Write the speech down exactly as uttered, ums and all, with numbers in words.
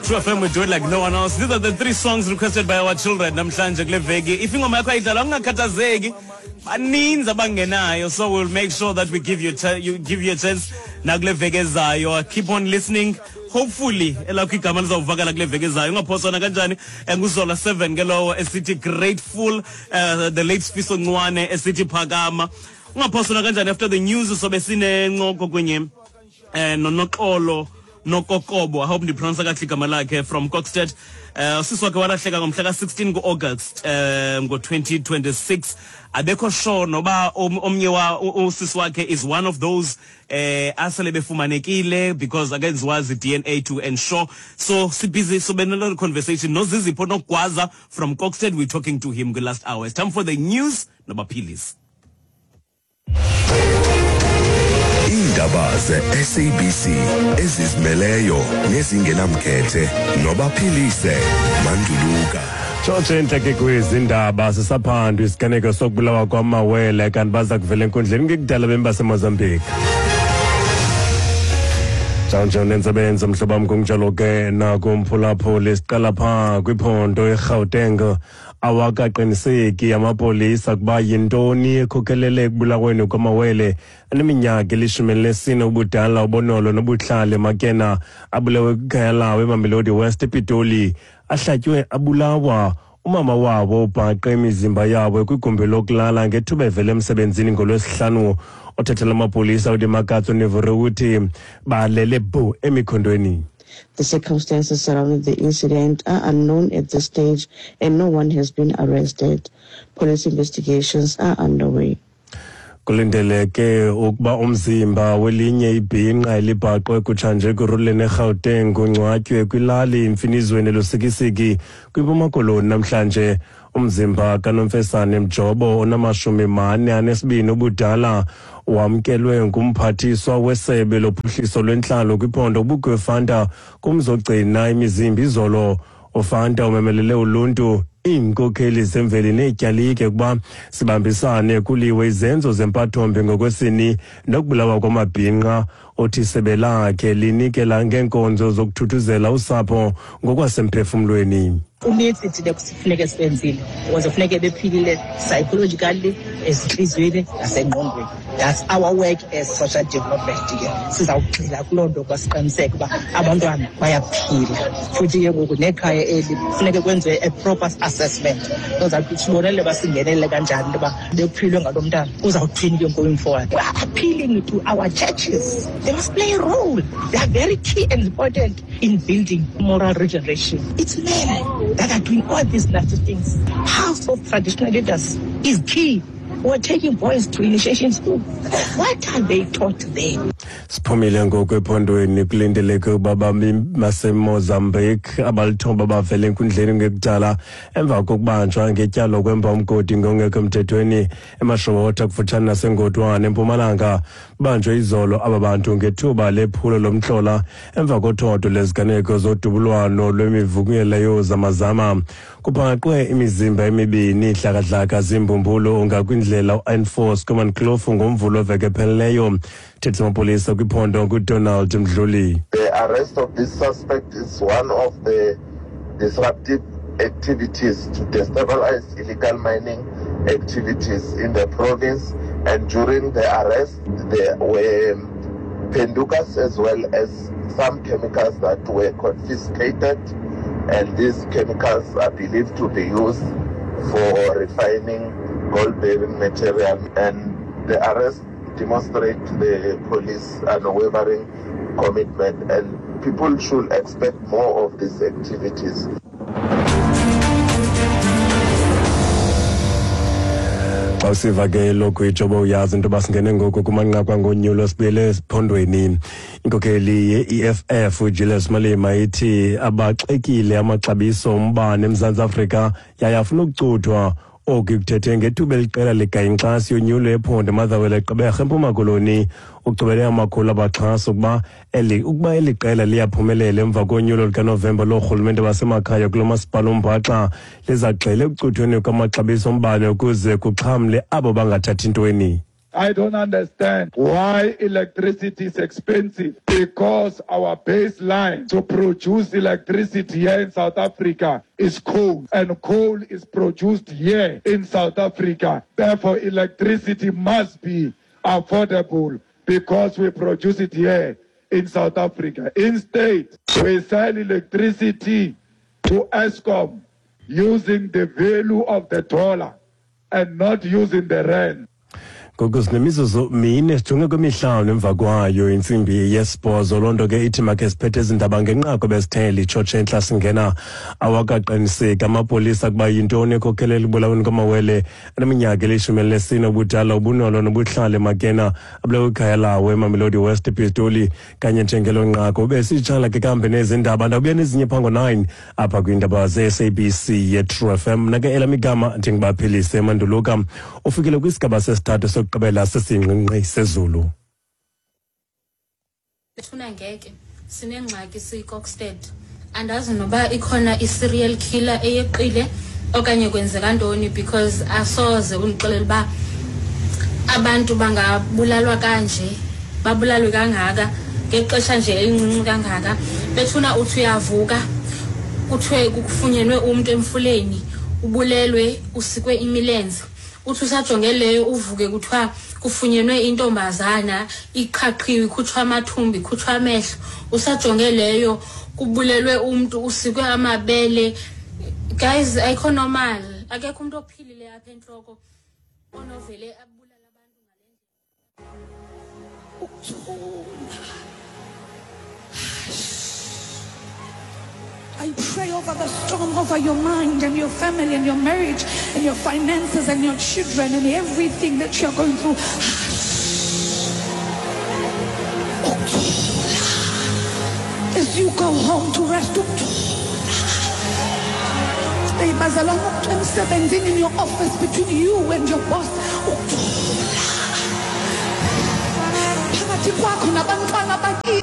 True F M, we do it like no one else. These are the three songs requested by our children namhlanje kule veki. If ingoma yakho ayidlalwa ungakhathazeki, baninzi abangenayo, so we'll make sure that we give you a you give you a chance nakule veki ezayo. Keep on listening. Hopefully elakho igama lizawuvakala kule veki ezayo. Ungaphoswana kanjani? Nguzola seven ke lowo esithi grateful, uh, the late Sifiso Ncwane esithi phakama. Ungaphoswana kanjani? After the news sobe sinencoko kunye eh noNoxolo Nokokobo, I hope ndipronounce kakuhle igama lakhe, from Kokstad. Uh, sisi wakhe walahleka ngomhla ka-sixteen ku-August um ngo-twenty twenty-six. Abekho sure noba omnye wa usisi wakhe is one of those eh asele befumanekile, because akenziwa D N A to ensure. So si busy, so benalo conversation noZizipho Nogwaza from Kokstad. We're talking to him the last hour. It's time for the news nobaphilisi. Indaba ze-S A B C ezizimeleyo nezingenamkhethe nobaphilise Manduluka. Tshotshe intleke kwezindaba sisaphandwa isiganeko sokubulawa kwamawele kanti baza kuvela enkundleni ngekudala bemi baseMozambique. Njalo nentsebenzo mhlobo wam kunjalo ke nakumphulaphuli siqala phaa kwiphondo eGauteng. Awakaqiniseki amapolisa kuba yintoni ekhokelele ekubulaweni kwamawele aneminyaka elishumi elinesine ubudala uBonolo noBuhlale Makena abulewe kwikhaya lawo eMamelodi West ePitoli. Ahlatywe abulawa. Umama wabo ubhaqe imizimba yabo kwigumbi lokulala ngethuba evela emsebenzini ngolwesihlanu. Othethela amapolisa uDimakatso Nevore uthi balele bu emikhondweni. The circumstances surrounding the incident are unknown at this stage and no one has been arrested. Police investigations are underway. Kulindeleke ukuba umzimba welinye ibhinqa elibhaqwe kutshanje kuruleni eGauteng ungcwatywe kwilali Imfinizweni Lusikisiki kwiMpuma Koloni namhlanje. Umzimba kaNomfesane Mjobo onamashumi mane anesibini ubudala wamkelwe ngumphathiswa wesebe lophuhliso lwentlalo kwiphondo uBukiwe Fanta kumzogcina imizimba izolo. uFanta umemelele uluntu, iinkokheli zemveli neetyalike ukuba sibambisane kuliwe izenzo zempathombi ngokwesini nokubulawa kwamabhinqa. Othi isebe lakhe linikela ngeenkonzo zokuthuthuzela usapho ngokwasemphefumlweni. Kunintsi thina kufuneke sibenzile ukuze funeke bephilile psychologically, ezintliziyweni nasengqondweni. That's our work as social development ke. Sizawugxila kuloo nto ukuba siqiniseke uba abantwana bayaphila. Futhi ke ngoku nekhaya eli kufuneke kwenziwe a proper assessment. Kuzawuthi sibonele uba singenelele kanjani into yoba bekuphilwe ngalo mntana. Kuzawuthini ke going forward. We are appealing to our churches. They must play a role. They are very key and important in building moral regeneration. It's men that are doing all these nasty things. House of traditional leaders is key. We're taking boys to initiation school. What are they taught there? Siphumile ngoku ephondweni. Kulindeleke ukuba bami baseMozambique abalithoba bavele enkundleni ngekudala emva kokubanjwa ngetyala lokwemba umgodi ngongekho emthethweni eMashowotha kufutshane naseNgodwane eMpumalanga. Banjwe izolo aba bantu ngethuba lephulo lomhlola emva kothodo leziganeko zodubulwano lwemivukelo yozamazama. Kubhaqwe imizimba emibini ihlakahlaka zimbumbulu ngakwindlela u-N four Schoeman Kloof ngomvulo weveki ephelileyo. Thetha amapolisa kwiphondo nguDonald Mdluli. The arrest of this suspect is one of the disruptive activities to destabilize illegal mining activities in the province, and during the arrest there were pendukas as well as some chemicals that were confiscated, and these chemicals are believed to be used for refining gold-bearing material. And the arrest demonstrates the police unwavering commitment, and people should expect more of these activities. Xa usiva ke lokhu ijobo uyazi into yoba singene ngoku kumanqaku angonyulo sibuyele esiphondweni. Inkokheli ye-E F F uJulius Malema ithi abaxekile amaxabiso ombane eMzantsi Afrika yaye afuna ukucuthwa. Oku kuthethe ngethuba eliqela ligayinkxasi yonyulo ephondo eMotherwell eGqeberha eMpuma Koloni. Ucubele amakhulu abaxhasi ukuba eli ukuba eli qela liyaphumelela emva konyulo lukaNovemba loorhulumente basemakhaya kulo masipala uMbaxa liza kugxila ekucuthweni kwamaxabiso ombane ukuze kuxhamle abo bangathathi ntweni. I don't understand why electricity is expensive, because our baseline to produce electricity here in South Africa is coal, and coal is produced here in South Africa. Therefore, electricity must be affordable because we produce it here in South Africa. Instead, we sell electricity to Eskom using the value of the dollar and not using the rand. Ngoku sinemizuzu mine sijonge kwemihlanu emva kwayo intsimbi yesibhozo. Loo nto ke ithi makhe siphethe ezi ndaba ngenqaku besithe litshotshe entla singena. Awakaqiniseki amapolisa kuba yintoni ekhokhelela ebulaweni kwamawele aneminyaka elishumi elinesine ubudala uBunolo noBuhlale Makena abulewe ikhaya lawo eMamelodi West ePistoli. Kanye njengelo nqaku besitshala ke kambe nezi ndaba, ndawubuya nezinye phango nine apha kwiindaba ze-S A B C ye-True F M. Mna ke elam igama ndinguBaphilise Manduluka. Ufikile kwisigaba sesithathu sokugqibela sesingqingqi sezulu. Bethuna ngeke sinengxaki siyiKokstad, andazi noba ikhona i-serial killer eyeqile okanye kwenzeka ntoni, because asoze undixelele uba abantu bangabulalwa kanje, babulalwe kangaka ngexesha nje elincinci kangaka. Bethuna uthi uyavuka kuthiwe kufunyenwe umntu emfuleni, ubulelwe, usikwe imilenze. Uthi usajonge leyo uvuke kuthiwa kufunyenwe intombazana iqhaqhiwe, ikhutshwa amathumbu, ikhutshwa amehlo. Usajonge leyo kubulelwe umntu, usikwe amabele. Guys, ayikho normal, akekho umuntu ophilile apha entloko onovele abulala abantu ngale ndlela. I pray over the storm, over your mind and your family and your marriage and your finances and your children and everything that you're going through. As you go home to rest, in your office between you and your boss, phakathi kwakho nabantwana bakini.